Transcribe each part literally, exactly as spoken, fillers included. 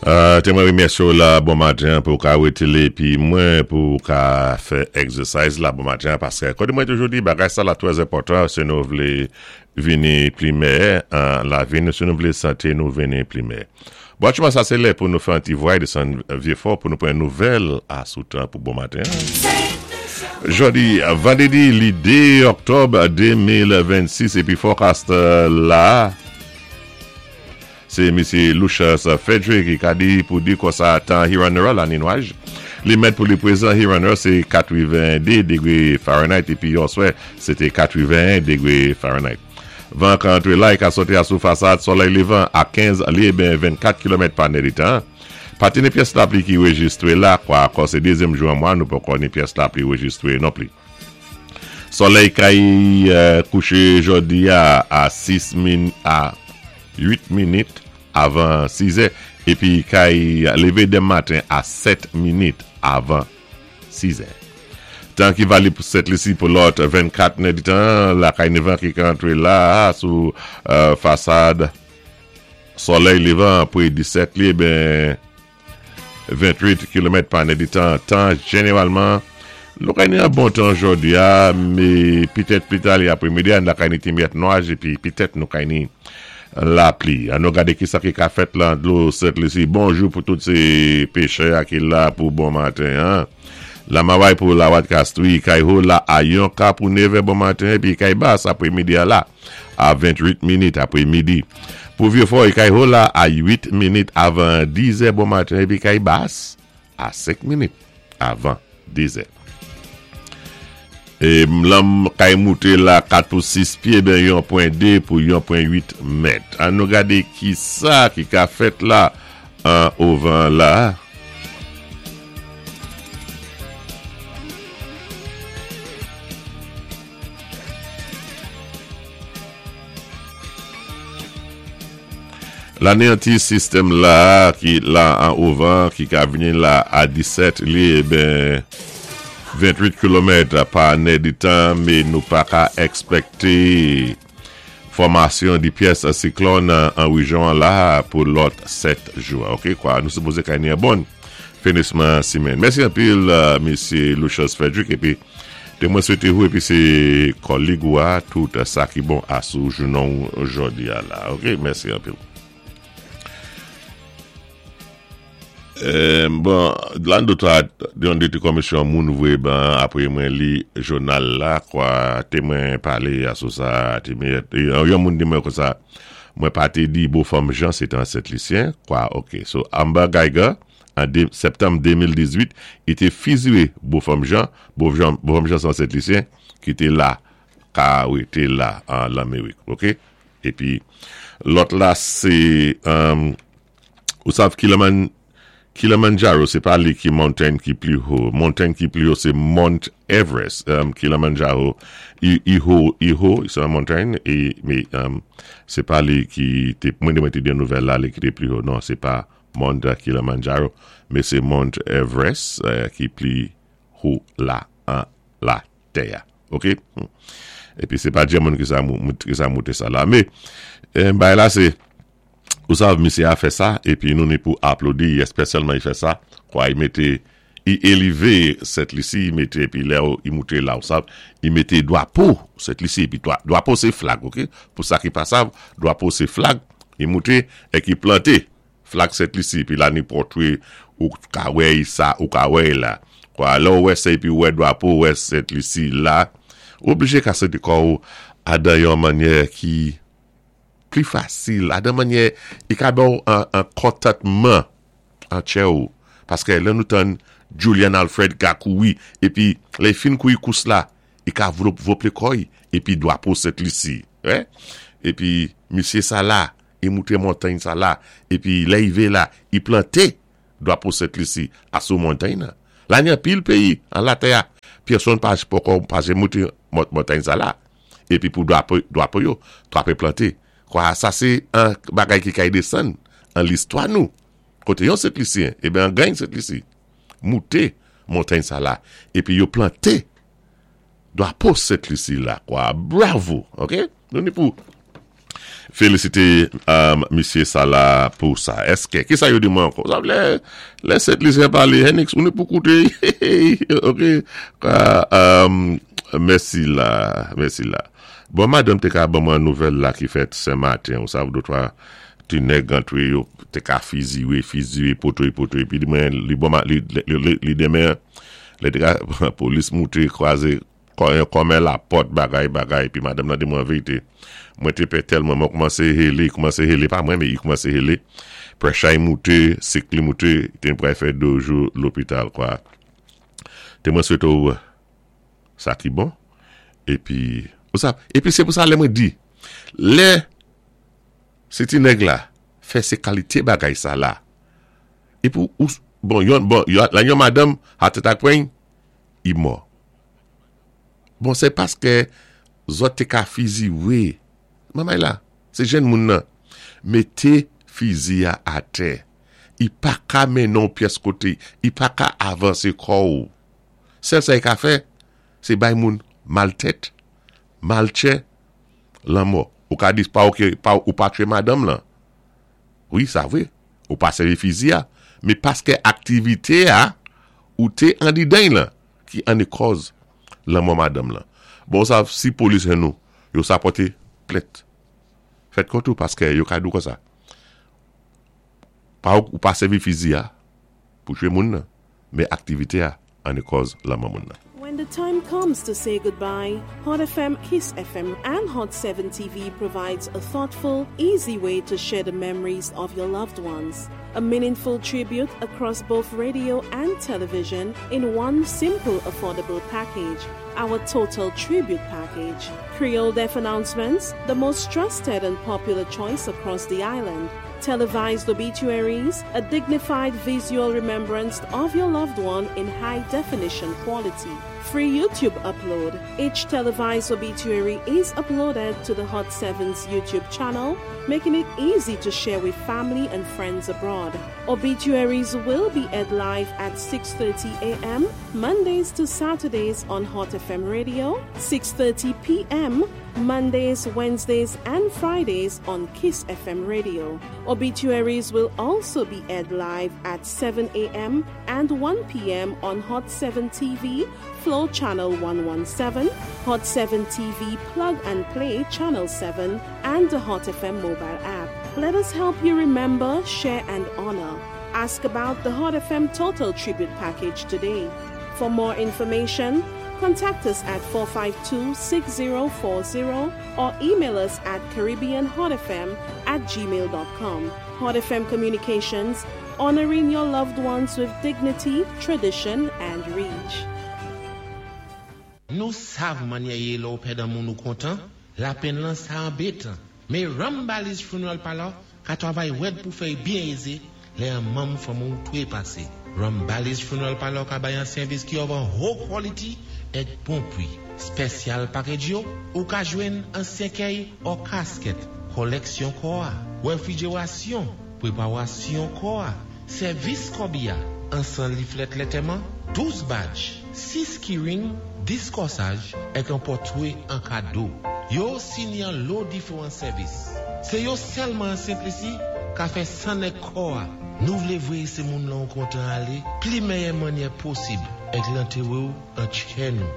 Euh, té mwen wimèsye la bon maten pou ka wété épi mwen pou ka fè exercise la bon maten paské koté mwen toujou di bagay sa la twè enpòtan si nou vlé vini pli mèyè an lavi nou si nou vlé santé nou vini pli mèyè. Bon, aktyèlman sa sé lè pou nou fè an ti vway désann Vyéfò pou nou pran nouvèl a sou tan pou bon maten. Jòdi, vandédi, li dé òktòb de mil vennsis épi forecast la sé Misyé Lucius Frederick ki ka di pou di konsa tan Huron la ni nwaj. Li mèt pou li pwézan Huron sé katwenndé dégwé Fahrenheit épi yèswa sé té katreven-en dégwé Fahrenheit. Van ka antré la, i ka sòti a sou fasad solèy lévan a kenz lyé ben vennkat kilomèt pa nèditan. Pa té ni pyès lapli ki wéjistwé la, kwa kon sé dézyèm jou an mwa, nou poko ni pyès lapli wéjistwé non pli. Solèy kay euh, kouché jòdi a, a sis min a uit minit avan sis è épi kay lévé denmen maten a sèt minit avan sis è. Tan ki valib pou Sent Lisi pou lòt vennkat nèditan, la kay ni van ki ka antré la sou euh, fasad solèy lévan pou disèt lyé ben venntwit kilomèt pa nèditan. Tan jénéwalman nou kay ni an bon tan jòdi a, mé pitèt pli ta li apwémidi a, nou kay ni ti myèt nwaj épi pitèt nou kay ni lapli. An nou gadé ki sa ki ka fèt lan dlo Sent Lisi. Bonjou pou tout sé péchè ki la pou bon maten. Hein? Lamaway pou Lawad Kastwi, kay ho la a yon ka pou nevè bon maten, épi kay bas apwémidi a la a venntwit minit apwé midi. Pou Vyéfò, kay ho la a uit minit avan diz è bon maten, épi kay bas a senk minit avan diz è. É lanmè kay mouté la kat pou sis pyé ben yon pwen dé pou yon pwen uit mèt. An nou gadé ki sa ki ka fèt la an ovan la. La ni an ti sistèm la ki la an ovan ki ka vini la a disèt lyé ben vennwit kilomèt pa nèditan, mé nou pa ka èkspèkté fòmasyon di pyès siklòn an wéjyon la pou lòt sèt jou. OK, kwa nou sipozé kay ni an bon finisman simenn. Mèsi anpil, euh, Misyé Lucius Frederick, épi té mwen swété ou épi sé kòlig ou a tout sa ki bon a sou jounen jòdi a la. OK, mèsi anpil. Euh, bon, lan dota yon de ti komisyon moun vwé ban apwé mwen li jounal la, kwa té mwen palé a sou sa, té mwen, yon moun di mwen kon sa, mwen pa té di Beaufort Jean sé té an Sent-Lisyen, kwa OK. So Amber Geiger, an dé, septanm de mil dizuit, i té fiziyé Beaufort Jean, Beaufort Jean, Jean sé an Sent-Lisyen, ki té la, ka wété la an Lamérik, OK? Épi, lòt la sé, um, ou sav Kiliman, Kilimanjaro, sé pa li ki mountain ki pli ho. Mountain ki pli ho, sé Mount Everest. Um, Kilimanjaro, i, i ho, i ho, sé yon mountain, é, mé um, sé pa li ki, té, mwen mwen té di nouvèl la, li ki té pli ho. Non, sé pa Mount Kilimanjaro, mé sé Mount Everest euh, ki pli ho la an la tè. OK? Épi sé pa di moun ki sa ki sa mouté sa la. Mé euh, ben la sé ou sav, misyé a fè sa, épi nou ni pou aplodi, èspésyalman i fè sa, kwa i mété, i élévé Sent Lisi, i mété, épi lè i mouté la, ou sav, i mété dwapo Sent Lisi, épi dwapo sé flag, OK? Pou sa ki pa sav, dwapo sé flag, i mouté, é ki planté flag Sent Lisi, épi la ni pòtwé, ou ka wè sa, ou ka wè la. Kwa lè ou wè sa, épi wè dwapo, wè Sent Lisi la, ou oblijé ka santi kò ou adan yon mannyè ki pli fasil, adan mannyè, i ka ba ou an, an kontantman an tchè ou. Paské lè nou tann Julian Alfred ka kouri, épi lè i fin kouri kous la, i ka vloplé kò i, épi dwapo Sent Lisi. Eh? Épi, misyé sa la, i mouté montay sa la, épi lè i vé la, i planté dwapo Sent Lisi a sou montay nan. La ni an pil péyi, an la tè a, pèsonn pa poko pa mouté montay sa la. Épi pou dwapo, dwapo yo, dwapo planté. Kwa sa sé an bagay ki kay désann an listwa nou. Koté yon Sent Lisyen, eh ben an gany Sent Lisi. Mouté montay sa la, épi yo planté dwapo Sent Lisi la, kwa. Bravo, OK? Nou ni pou Félisité um, misyé sa la pou sa. Èské, ki sa yo di mwen ankò? Sa lè, lè Sent Lisyen palé, Henix, ou ni pou kouté. Ok. Um, mèsi la, mèsi la. Bon, madanm té ka ban mwen nouvèl la ki fèt sen maten, ou sav dotwa ti nèg antré yo té ka fiziwé, fiziwé, poto, poto, épi di mwen, li bon, li, li, li, li demen, lè té ka, polis mouté, kwazé, kòmè la pòt, bagay, bagay, épi madanm nan di mwen vérité. Mwen té pè tèlman, mwen koumansé hélé, koumansé hélé, pa mwen, mé i koumansé hélé. Pressure mouté, sik li mouté, té pral fè dé jou lopital, kwa. Té mwen swété ou sa ki bon, épi, ou sa, épi sé pou sa lè mwen di, lè, sé ti nèg la, fè sé kalité bagay sa la, épi ou, bon, yon, bon, yon, la yon madanm, heart attack pran, i mò. Bon, sé paské zòt té ka fiziwé, mamay la, sé jèn moun nan, mété fizi a atè, i pa ka mennen pyès koté, i pa ka avansé kò ou. Sèl sa i ka fè, sé bay moun mal tèt, mal tchè, lanmò. Ou ka di pa ok, pa, ou pa twé madanm lan. Wi, sa vwé. Ou pa sèvi fizi a, mé paské aktivité a, ou té andidan lan, ki an kòz lanmò madanm lan. Bon, sa, si polis jwenn nou, yo sa pòté plent. Fèt kont ou paské yo ka di ou kon sa. Pa ou, ou pa sèvi fizi a, pou twé moun nan, mé aktivité a, an kòz lanmò moun nan. When the time comes to say goodbye, Hot F M, Kiss F M, and Hot seven T V provides a thoughtful, easy way to share the memories of your loved ones. A meaningful tribute across both radio and television in one simple, affordable package. Our Total Tribute Package. Creole Death Announcements, the most trusted and popular choice across the island. Televised obituaries, a dignified visual remembrance of your loved one in high definition quality. Free YouTube upload. Each televised obituary is uploaded to the Hot seven's YouTube channel, making it easy to share with family and friends abroad. Obituaries will be aired live at six thirty a m. Mondays to Saturdays on Hot F M Radio, six thirty p m. Mondays, Wednesdays, and Fridays on Kiss F M Radio. Obituaries will also be aired live at seven a m and one p m on Hot seven T V, Flow Channel one one seven, Hot seven T V Plug and Play Channel seven, and the Hot F M mobile app. Let us help you remember, share, and honor. Ask about the Hot F M Total Tribute Package today. For more information, contact us at four five two, six zero four zero or email us at caribbeanhotfm at gmail dot com. Hot F M Communications, honoring your loved ones with dignity, tradition, and reach. Nou sav mannyè yé lè ou pèd an moun ou kontan, lapenn lan sa anbétan. Mé Rambali's Funeral Parlor ka twavay wèd pou fè byen ézé, lè an manm fanmi ou twépasé. Rambali's Funeral Parlor ka bay an sèvis ki of an haut quality èk bon pwi. Special package yo, ou ka jwenn an sèkèy ou kasket, koleksyon kò a, wéfrijérasyon, pwéparasyon kò a, sèvis kòbi a, an san leaflet lantèman, douz badge, sis keyring, dis kòsaj, èk an pòtwé an kado. Yo sini an lo diféwan sèvis. Sé yo sèlman an Sent Lisi ka fè san èk kò a. Nou vlé vwé sé moun lan kontan alé, pli méyè mannyè posib, èk lantéré ou an tchè nou.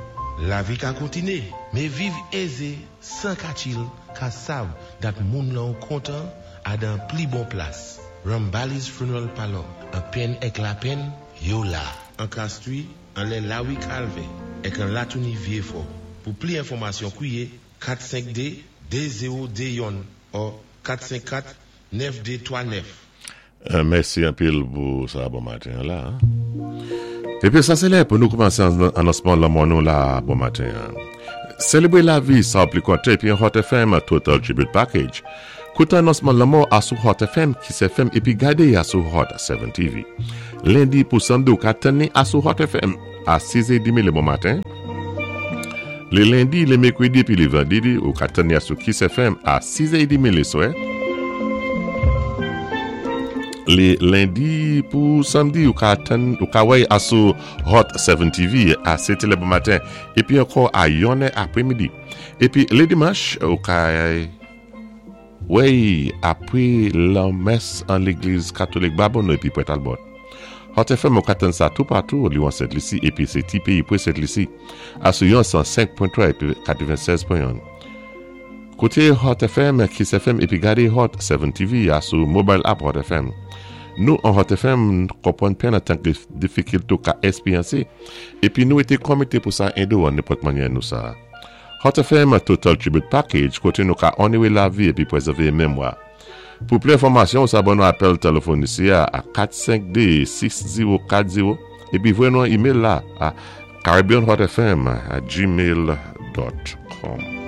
Lavi ka kontiné, mé viv ézé, san katchil, ka sav dat moun lan kontan adan pli bon plas. Rambali's Funeral Parlor, an penn èk lapenn, yo la. An Castries, an lè Lawi Kalvè, èk an Latouni Vyéfò. Pou pli enfòmasyon kwiyé kat senk de de zewo de youn ou kat senk kat nèf de twa nèf. Euh, mèsi anpil pou sa bon maten la. Épi sa sé lè pou nou koumansé anonsman lanmò nou la bon maten. Sélébré lavi sa pli konté épi Hot F M Total Tribute Package. Kouté anonsman lanmò a sou Hot F M, Kiss F M épi gadé a sou Hot seven T V. Lendi pou samdi ou ka tanni a sou Hot F M a sis è trant lé bon maten. Lé lendi, lé mèkwédi épi lé vandédi ou ka tanni a sou Kiss F M a sis è trant lé swè. Lé lendi pou samdi ou ka tann ou ka wè a sou Hot seven T V a sèt lè bon maten épi ankò a yonnè apré midi. Épi lé dimanch ou ka Wéy, apwé lanmès an légliz katolik Babonneau épi Pwent Talbot. Hot F M ou ka tann sa toupatou li an Sent Lisi épi sé ti péyi pwé Sent Lisi asou yon san senk pwen twa épi katwennsèz pwen en. Kouté Hot F M, Kiss F M épi gadé Hot sèt T V asou mobile app Hot F M. Nou an Hot F M konpwann pèn antanké difikilté ou ka èspéryansé épi nou été komité pou sa édé ou an nenpòt mannyè nou sa. Hot F M Total Tribute Package koté nou ka onoré lavi épi pwézèvé mémwa. Pou plis enfòmasyon, sa ban nou apèl téléfòn isi a, a kat senk de, sis zewo kat zewo épi voyé nou yon email la a caribbeanhotfm at gmail dot com.